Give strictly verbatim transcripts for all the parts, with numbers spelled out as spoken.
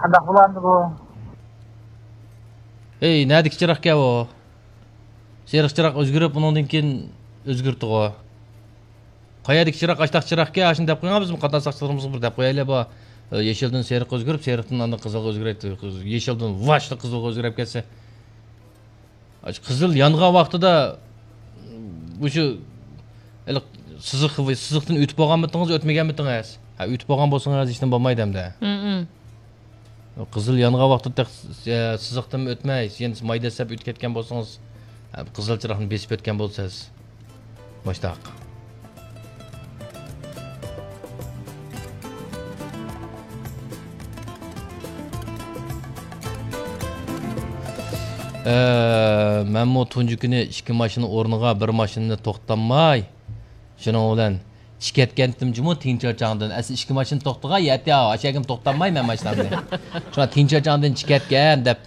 قانداق بولامدۇ بۇ؟ ھەي، نەدىكى چىراغكەن ئۇ؟ سېرىق چىراغ ئۆزگىرىپ، ئۇنىڭدىن كېيىن ئۆزگىرىپتىغۇ. قەيەردىكى چىراغ؟ ئاشتاق چىراغكەن، ئاشۇنى دەپ قويۇڭ، بىزمۇ قاتناش ساقچىلىرىمىزغا بىر دەپ قويايلى، بۇ، ئە، يېشىلدىن سېرىققا ئۆزگىرىپ، سېرىقتىن ئاندىن قىزىلغا ئۆزگىرەتتى. يېشىلدىن ۋاشلا قىزىلغا ئۆزگىرىپ كەتسە. ئاشۇ قىزىل يانغان ۋاقتىدا مۇشۇ ھېلىقى سىزىق، سىزىقتىن ئۆتۈپ بولغانمىتىڭىز، ئۆتمىگەنمىتىڭىز؟ ھە، ئۆتۈپ بولغان بولسىڭىز، ھېچنېمە بولمايدۇ ئەمدى. ھە، ھە. قىزىل يانغان ۋاقتىدا تېخى سىزىقتىنمۇ ئۆتمەي، يەنە ماي دەسسەپ ئۆتۈپ كەتكەن بولسىڭىز، ھە، قىزىل چىراغنى بېسىپ ئۆتكەن بولىسىز. مۇشتاق. ئە، مەنمۇ تۇنجى كۈنى ئىككى ماشىنا ئورنىغا بىر ماشىنىنى توختاتماي، شۇنىڭ بىلەن چىكەتكەنتىم جۇمۇ تىڭچاچاڭدىن. ئەسلى ئىككى ماشىنا توختىغان يەتتە، ئاشۇ يەرگىمۇ توختاتماي مەن ماشىنامنى. شۇڭا تىڭچاچاڭدىن چىكەتكەن دەپ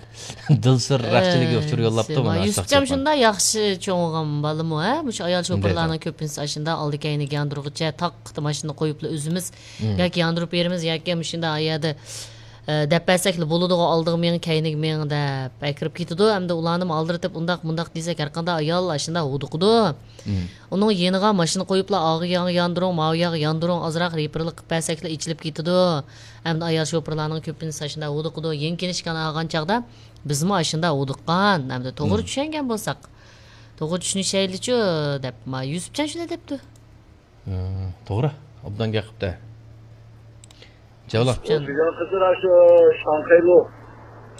دىلسىر رەخچىلىككە ئۇچۇر يوللاپتۇ مانا. يۈسۈپجان شۇنداق ياخشى چوڭ بولغان بالىمۇ، ھە؟ مۇشۇ ئايال شوپۇرلارنىڭ كۆپىنچىسى ئاشۇنداق ئالدى كەينىگە ياندۇرغۇچە تاق ماشىنا قويۇپلا ئۆزىمىز ياكى ياندۇرۇپ بېرىمىز ياكى مۇشۇنداق ئايالدا ئە، دەپ بەرسەكلا بولىدىغۇ، ئالدىغا مېڭىڭ، كەينىگە مېڭىڭ دەپ ئەكىرىپ كېتىدۇ. ئەمدى ئۇلارنىمۇ ئالدىرىتىپ، ئۇنداق، مۇنداق دېسەك، ھەرقانداق ئايال ئاشۇنداق ھودۇقىدۇ. مم. ئۇنىڭ يېنىغا ماشىنا قويۇپلا، ئاغۇ ياغ ياندۇرۇڭ، ماۋۇ ياغ ياندۇرۇڭ، ئازراق رېپېرلىق قىلىپ بەرسەكلا ئېچىلىپ كېتىدۇ. ئەمدى ئايال شوپۇرلارنىڭ كۆپىنچىسى ئاشۇنداق ھودۇقىدۇ. يېڭى كىنىشكىنى ئالغان چاغدا بىزمۇ ئاشۇنداق ھودۇققان. ئەمدى توغرا چۈشەنگەن بولساق، توغرا چۈشىنىشەيلىچۇ دەپ، ما، يۈسۈپجان شۇنداق دەپتۇ. ھە، توغرا. ئوبدان گەپ قىپتە. جاۋلا. بىزنىڭ قىزلار شۇ شاڭخەيلۇ.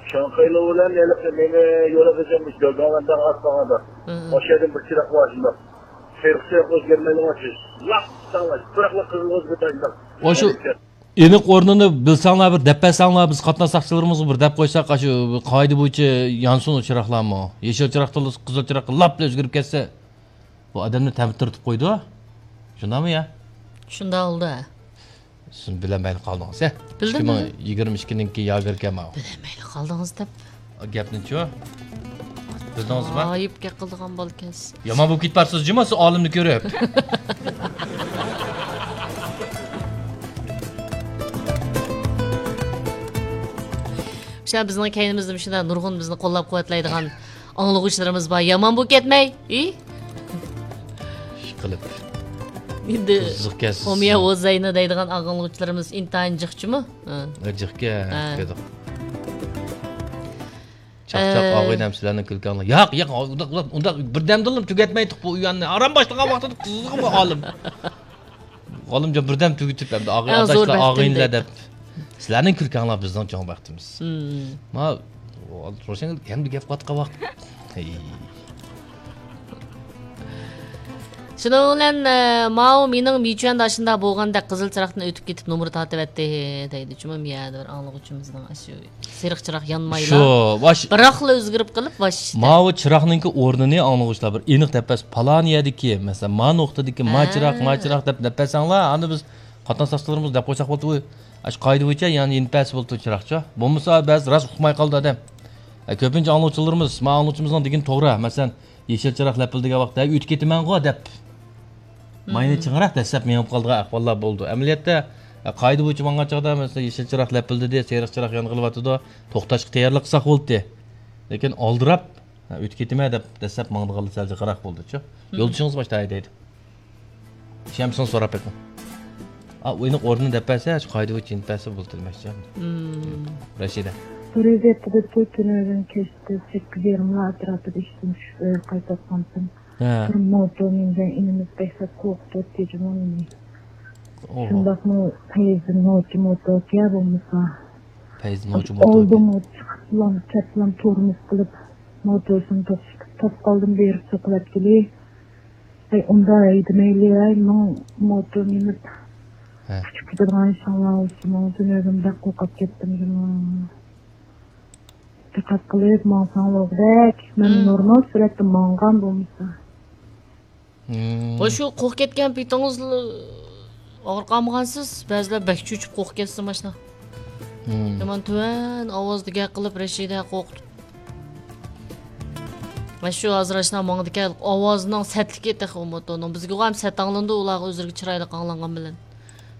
شاڭخەيلۇ بىلەن ھېلىقى مېنى يولغا ئېزەممىش گۆلداۋاندا ئاتمىغاندا. ئاشۇ يەردىن بىر چىراغ بار شۇنداق. سېرىق سېرىق ئۆزگەرمەيدىغان چىز. لاپ ساڭلار، پۇراقلا قىزىل ئۆزگىرىدىغان. ئاشۇ ئېنىق ئورنىنى بىلسەڭلار، بىر دەپ بەرسەڭلار، بىز قاتناش ساقچىلىرىمىزغا بىر دەپ قويساق، ئاشۇ قائىدە بويىچە يانسۇن ئۇ چىراغلارمۇ. يېشىل چىراقتىن قىزىل چىراغقا لاپلا ئۆزگىرىپ كەتسە. بۇ ئادەمنى تەمتىرىتىپ قويىدۇ. شۇنداقمۇ يا؟ شۇنداق بولدى. سىز بىلەلمەيلا قالدىڭىز، ھە؟ بىلدىم، ئىككى مىڭ يىگىرمە ئىككىنىڭكى ياگېركەن ماۋۇ. بىلەلمەيلا قالدىڭىز دەپ. گەپنىچۇ؟ بىلدىڭىزمۇ؟ ئايىپ گەپ قىلىدىغان بالىكەنسىز. يامان بولۇپ كېتىپ بارسىز جۇمۇ، سىز ئالىمنى كۆرۈپ. شۇ بىزنىڭ كەينىمىزدە مۇشۇنداق نۇرغۇن بىزنى قوللاپ قۇۋۋەتلەيدىغان ئاڭلىغۇچىلىرىمىز بار، يامان بولۇپ كەتمەي. ئى؟ ئىشقىلىپ. ئەمدى قىزىقكەنسىز. ئومىيە ۋوزەينى دەيدىغان ئاڭلىغۇچىلىرىمىز ئىنتايىن جىقچىمۇ؟ ھە. ھە، جىقكەن. ھە. چاقچاق ئاغىنەم سىلەرنىڭ كۈلكەڭلار. ياق، ياق، ئۇنداق، ئۇنداق، ئۇنداق بىردەمدىلا تۈگەتمەيتتۇق بۇ ئويۇننى. ئاران باشلىغان ۋاقتىدا قىزىقمۇ ئالىم. ئالىمجان بىردەم تۈگىتىپ ئەمدى ئاغىنە ئاداشلار، ئاغىنىلەر دەپ. سىلەرنىڭ كۈلكەڭلار بىزنىڭ چوڭ بەختىمىز. ما روشەن ئەمدى گەپ قىلىۋاتقان ۋاقىت. ھەي. شۇنىڭ بىلەن، ئە، ماۋۇ مېنىڭ مىچۈەندە ئاشۇنداق بولغاندەك قىزىل چىراغدىن ئۆتۈپ كېتىپ نومۇر تارتىۋەتتى دەيدۇ. شۇمۇ يەنە بىر ئاڭلىغۇچىمىزنىڭ ئاشۇ سېرىق چىراغ يانمايلا، شۇ، ۋاش-، بىراقلا ئۆزگىرىپ قېلىپ، ۋاش. ماۋۇ چىراغنىڭكى ئورنىنى ئاڭلىغۇچىلار بىر ئېنىق دەپ بەرسە، پالان يەردىكى، مەسىلەن، ما نۇقتىدىكى ما چىراغ، ما چىراغ دەپ، دەپ بەرسەڭلار، ئاندىن بىز قاتناش ساقچىلىرىمىز دەپ قويساق بولدى. ئۇ، ئاشۇ قائىدە بويىچە يەنە يېنىپ بەرسە بولدى چىراغچۇ. بولمىسا بەزى راست ئۇقماي قالىدۇ ئادەم. ئە، كۆپىنچە ئاڭلىغۇچىلىرىمىز، ما ئاڭلىغۇچىمىزنىڭ دېگىنى توغرا. مەسىلەن، يېشىل چىراغ لەپىلدىگەن ۋاقىتتا، ھەي، ئۆتۈپ كېتىمەنغۇ دەپ. ماينى چىڭراق دەسسەپ مېڭىپ قالىدىغان ئەھۋاللار بولىدۇ. ئەمەلىيەتتە، قائىدە بويىچە ماڭغان چاغدا، مەسىلەن، يېشىل چىراغ لەپىلدىدى، سېرىق چىراغ يانغىلى باتىدۇ، توختاشقا تەييارلىق قىلساق بولدى. لېكىن ئالدىراپ، ھە، ئۆتۈپ كېتىمەن دەپ دەسسەپ ماڭىدىغانلار سەل جىقراق بولىدۇچۇ. يولدىشىڭىز ماشتا ھەيدەيدۇ. ئىشەنمىسىڭىز سوراپ بېقىڭ. ئا، ئۇ ئېنىق ئورنىنى دەپ بەرسە، شۇ قائىدە بويىچە يېنىپ بەرسە بولدى دېمەكچى. رەشىدە. بىر ھېلىقى تۈنۈگۈن كەچتە سەككىز يېرىملار ئەتراپىدا ئىشتىن چۈشۈپ ئۆيگە قايتىۋاتقانتىم. ھە. بىر موتور مېنى بىلەن ئىنىمىز بەكلا قورقۇتۇۋەتتى جۇمۇ مېنى. شۇنداقمۇ پەيزى نوچى موتوركەن بولمىسا. پەيزى نوچى موتوركەن. ئالدىمۇ چىقىپلام، چەتلام تورمۇز قىلىپ، موتورسىنى توختىتىپ، توختىتىپ قالدىم، بېرىپ سوقۇۋەتكىلى. ھەي، ئۇنداق ھەيدىمەيلى، ھەي، ماڭا موتور مىنىپ ئۇچۇپ كېتىدىغان ئىشىڭلار بولسىمۇ، تۈنۈگۈن بەك قورقۇپ كەتتىم جۇمۇ. دىققەت قىلىپ ماڭساڭ بولغۇدەك. مەن نورمال سۈرئەتتە ماڭغان بولمىسا. مم. ۋاي، شۇ قورقۇپ كەتكەن پېتىڭىزلا ئاغرىپ قالمىغانسىز؟ بەزىلەر بەك چۆچۈپ قورقۇپ كەتسە ماشىنا. مم. يامان تۆۋەن ئاۋازدا گەپ قىلىپ، رەشىدە قورقۇتۇپ. مانا شۇ ھازىر ئاشۇنداق ماڭىدىكەن، ئاۋازىنىڭ سەتلىكى تېخى ئۇ موتورنىڭ. بىزگىغۇ ھەم سەت ئاڭلىنىدۇ، ئۇلارغا ئۆزلىرىگە چىرايلىق ئاڭلانغان بىلەن.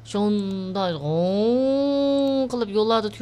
شۇنداق غوڭ قىلىپ يوللاردا